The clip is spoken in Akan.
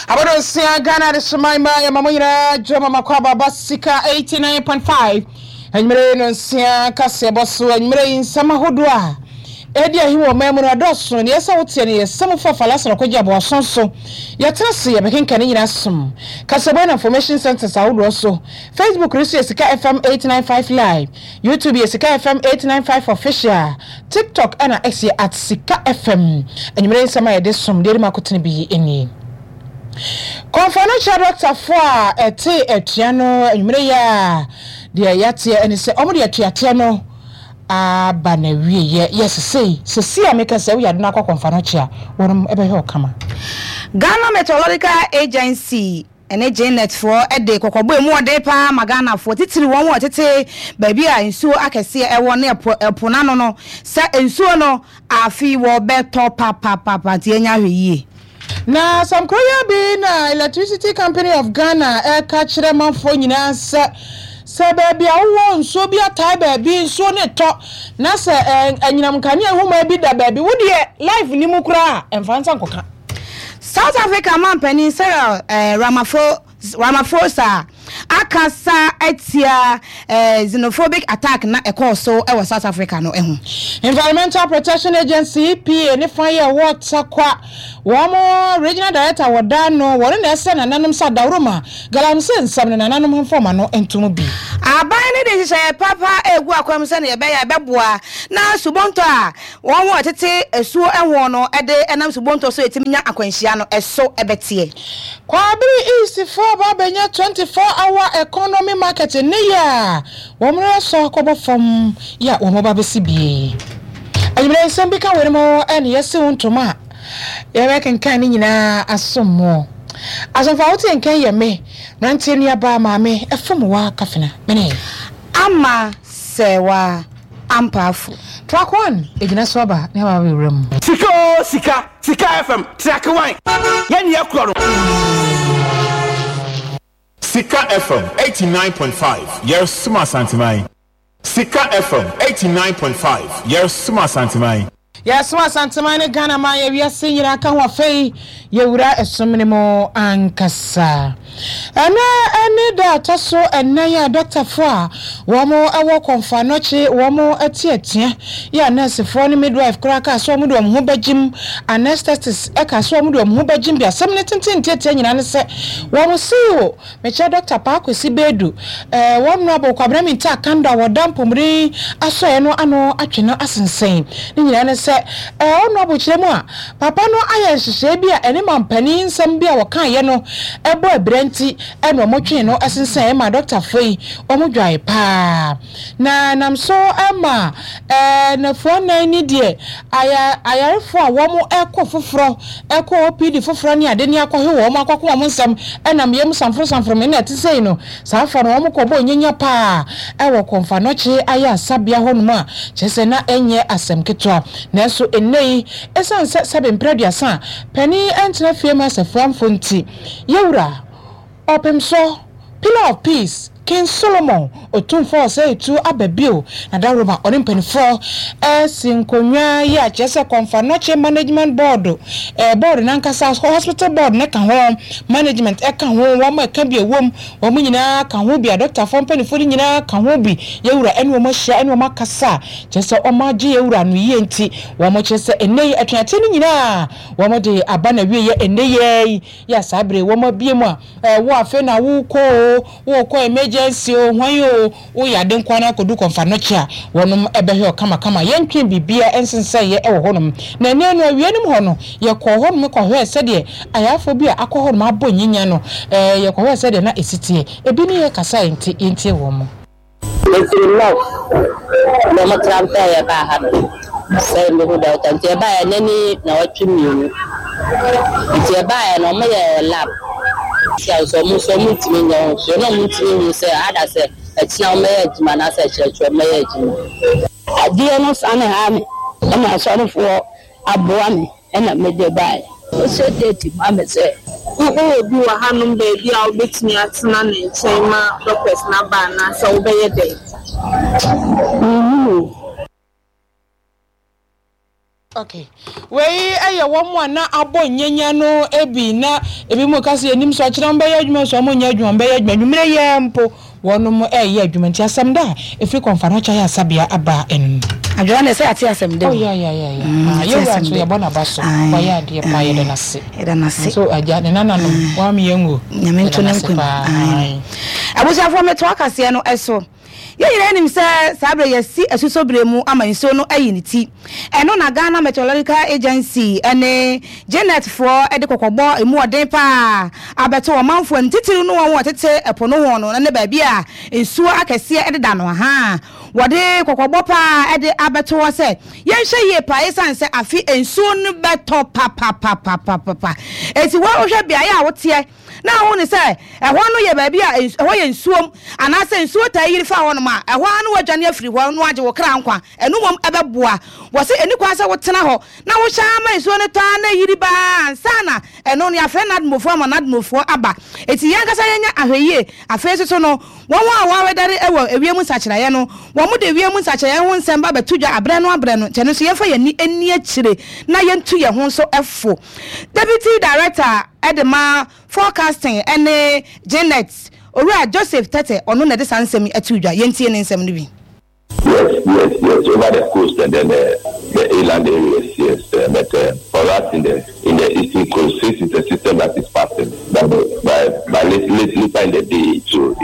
Abɔdɔnsia Ghana Adehyeman mma yɛma mo nyinaa dwo ma makɔ aba ba Sika 89.5 anwummere yi no nsia kaseɛbɔ so anwummere yi nsɛm ahodoɔ a ɛredi ahi wɔ ɔman mu no ɛdɔɔso neɛ ɛsɛ woteɛ no yɛ sɛm fa falasana kɔgye aboaso so yɛtena se yɛbɛkenka ne nyinaa som kaseɛbɔ na information centers ahodoɔ so Facebook no so yɛ Sika FM 895 live YouTube yɛ Sika FM 895 official TikTok ɛna X yɛ at Sika FM. Anwummere nsɛm a yɛde som deɛ ɛdi mu akotene bi nie. Kɔmfoanokyia dɔktafoɔ a ɛte atua no anwummere yi a deɛ yɛateɛ ɛne sɛ wɔn de atuateɛ no aba n'awieɛ. Yɛ sesei, sesei a meka sɛ woyɛ ade no akɔ kɔmfoanokyia wɔnom ɛbɛhwɛ wo kama. Ghana Meteorological Agency ne Jnet foɔ de kɔkɔbɔ a ɛmu ɔden pa ara ma Ghanafoɔ, titiriw wɔn a wɔtete baabi a nsuo akɛseɛ wɔ ne ɛpo ɛpo no ano no, sɛ nsuo no afe yi wɔbɛtɔ papapapa nti yɛnyɛ ahwɛyie. Na asɛm koro yi ara bi na Electricity Company of Ghana reka kyerɛ manfoɔ nyinaa sɛ, sɛ baabi a wowɔ nsuo bi atae baabi, nsuo no retɔ, na sɛ anyinam nkanea nhoma bi da baabi, wo deɛ life nni mu koraa a, mfa nsa nkɔka. South Africa manpanin Cyril Ramaphosa akasa atia xenophobic attack na ɛkɔɔ so wɔ South Africa no ho. Environmental Protection Agency, EPA, ne fa yɛ wɔ Tarkwa. Wɔn Regional Director wɔ da no, wɔn na ɛsrɛ nananom sɛ adaworoma, galamsey nsɛm no nananom mfa wɔn ano nto mu bi. Aban no de nhyehyɛe papa regu akwan mu sɛnea ɛbɛyɛ a ɛbɛboa na subɔntɔ a Wɔn a wɔtete asuo ho no de nam subonto so tumi nya akwanhyia no, ɛso bɛteɛ. Kwaabere East foɔ aba abɛnya 24 hour economy market nnɛ yi a wɔn resɔ akɔbɔ fam yi a wɔn ba bɛsi bie. Anwummerɛ nsɛm bi ka weinom ho ɛne yɛsi wo ntoma a yɛbɛkenkan ne nyinaa asom mo. Asomfo a wote nkan yɛ me, mmeranteɛ nuabaa maame Afumowa Kafena. Mene. Ama Sɛwa Ampaafo. Track one egyina so aba ne aba abɛwura mu. Sika oo sika, Sika FM, track one, yɛn ni yɛkorɔ no. Sika FM 89.5 yɛresom Asanteman. Sika FM 89.5 yɛresom Asanteman. Yɛresom Asanteman ne Ghana man yɛ wiase nyinaa ka ho afei yɛwura ɛsom no mu ankasa. Ɛnnɛ ne da a ɛtɔ so nnan a dɔktafo a wɔwɔ Komfo Anokye wɔn te atua yi a nɛɛsefoɔ ne midwife koraa kaa sɛ wɔde wɔn ho bɛgyem, anesthetists kaa sɛ wɔde wɔn ho bɛgyem bi. Asɛm no tenten ntiatia nyinaa ne sɛ wɔn CEO, mekyerɛ Dɔkta Paa Kwesi Bedu, wɔn Honourable Kwabena Mintah Akandoh a wɔda mpɔmuden asɔeɛ no ano atwe no asensɛn. Ne nyinaa ne sɛ Honourable kyerɛ mu a, Papa no ayɛ nhyehyɛe bi a ɛne mampanin nsɛm bi a wɔkaeɛ no bɔ abira nti na wɔtwee no sensɛn maa dɔktafoɔ yi, wɔdwae paa. Na ɛnam so ma nnafua nnan ni deɛ ayarefoɔ a wɔrekɔ foforɔ, kɔ OPD foforɔ ne ade ne akɔhe wɔn akɔko wɔn nsɛm nam yam samforo samforo me na ɛte sei no, saa afoɔ no wɔkɔbɔɔ nyanya paa wɔ Kɔmfanɔkye ayaresabea hɔnom a kyerɛ sɛ na ɛnyɛ asɛm ketewa. Nanso nnɛyi, esiane sɛ sɛbe mpere aduasa a panin ntena fie mma asafuraamfo nti, Yɛwura, Ɔpemsɔ, Pillar of Peace, King Solomon, Otumfoɔ Osei Tuo aba bio, na dawuroma ɔne mpaninfoɔ resi nkonnwa yi a kyerɛ sɛ Kɔmfa Nɔkye Management Board, board no ankasa, Hospital Board no ka ho, Management ka ho, wɔn a ɛka bi a ɛwom, Wɔn nyinaa ka ho bi, adɔktafoɔ mpanimfoɔ no nyinaa ka ho bi, yɛn Wura ne wɔn ahyia ne wɔn akasa a, kyerɛ sɛ wɔagye yɛn Wura no yie nti, wɔkyerɛ sɛ ɛnnɛ yi atuateɛ no nyinaa wɔde aba n'awieɛ ɛnnɛ yi ara yi, yɛ a saa berɛ yi wɔabue mu a, wo afei na worekɔ oo, worekɔ emergency oo, hwan oo, Woyɛ ade nko ara kodu kɔmfanɔkye a, wɔnom bɛhwɛ wo kamakama. Yɛntwee biribiara nsensɛeɛ wɔ hɔnom. Na ɛnnɛ no, awia no mu hɔ no, yɛkɔɔ hɔnom kɔhwɛɛ sɛdeɛ ayarefoɔ bi a akɔ hɔnom abɔ nyinya no, yɛkɔhwɛɛ sɛdeɛ na ɛsi teɛ. Ebi ne yɛn kasaeɛ nti, yɛntie wɔn. Mefiri North na ɔmo transfer yɛ baa ha no sɛ mehu doctor nti yɛbaeɛ nnɛ ne nnawɔtwe mmienu nti yɛbaeɛ no ɔmo yɛɛ lab Sia nso ɔmo nso ɔmo ntumi nyɛ ho hwee na ɔmo ntumi nhu sɛ ada sɛ ɛkyena ɔmo bɛyɛ adwuma anaasɛ ɛkyerɛkyerɛ ɔmo bɛyɛ adwuma. Adeɛ no sane haa me ɛna asɔrefoɔ aboa me ɛna mede baeɛ. Ɔhyɛ date ma me sɛ. Wowɔ obi wɔ hanom baabi a wobɛtumi atena ne nkyɛn ma doctors no aba anaasɛ wobɛyɛ dɛn? Mennim o. Okay. Wei yɛ wɔn a na abɔ nyanya no bi na ebinom ka sɛ yɛnim sɛ ɔkyena wɔbɛyɛ adwuma nso wɔnyɛ adwuma wɔbɛyɛ adwuma anwummerɛ yi ara mpo wɔnom reyɛ adwuma nti asɛm da a ɛfiri Kɔmfanoakye Ayaresabea aba ɛno no. Adwoa deɛ sɛ yɛate asɛm da Oh o. yeah yeah yeah yeah. Mm, Ah, yɛate yɛwura asɛm nso da. yɛbɔ n'aba so. Ae, Wayɛ adeɛ paa yɛda no ase. yɛda no ase. Nso agya ne nananom wam yɛn o. Nyame Yɛda nto no ne ase nkwa mu. paa. Ae. Ae. Abusuafoɔ metoa kaseɛ no so. Yɛn nyinaa nim sɛ saa berɛ yi yɛasi asusɔ berɛ mu ama nsuo no ayi ne ti. Ɛno na Ghana Meteorological Agency ne GNet foɔ de kɔkɔbɔ a ɛmu ɔden pa ara abɛto ɔmanfoɔ anim, titiriw ne wɔn a wɔtete ɛpo no ho no ne baabi a nsuo akɛseɛ deda no. Ahaa, wɔde kɔkɔbɔ pa ara de abɛto hɔ sɛ yɛnhwɛ yie pa ara ɛsiane sɛ afe nsuo no bɛtɔ papapapapapa. Enti wo a wohwɛ beaeɛ a woteɛ, na ahu no sɛ ɛhɔ no yɛ baabi a ɛhɔ yɛ nsuom anaasɛ nsuo taa yiri fa hɔnom a, ɛhɔ ara na woadwane afiri hɔ na woagye wo kra nkwa. Ɛno mmom ɛbɛboa. Wɔse ɛnni kwan sɛ wotena hɔ na wohyɛ ara ma nsuo no tɔ ara na ɛyiri ba ara ansa na ɛno no yɛafrɛ NADMOfoɔ ama NADMOfoɔ aba. Enti yɛn ankasa yɛnyɛ ahwɛyie. Afei nso so no, wɔn a wɔawedare wɔ ewiem nsakyeraeɛ no, wɔde ewiem nsakyeraeɛ ho nsɛm ba bɛto dwa aberɛ no aberɛ no, nti ɛno nso yɛmfa yɛn ani nni akyire na yɛntu yɛn ho nso fo. Deputy Director de ma Forecasting ne GNet, Owura Joseph Tetteh, ɔno na ɛde saa nsɛm yi too dwa. Yɛntie ne nsɛm no bi. Yes, yes, yes, over the coast and then the, the inland areas, yes. Uh, but uh, for us in the in the eastern coast, since it's a system that is passing, by, by, by late, late, later in the day, it will,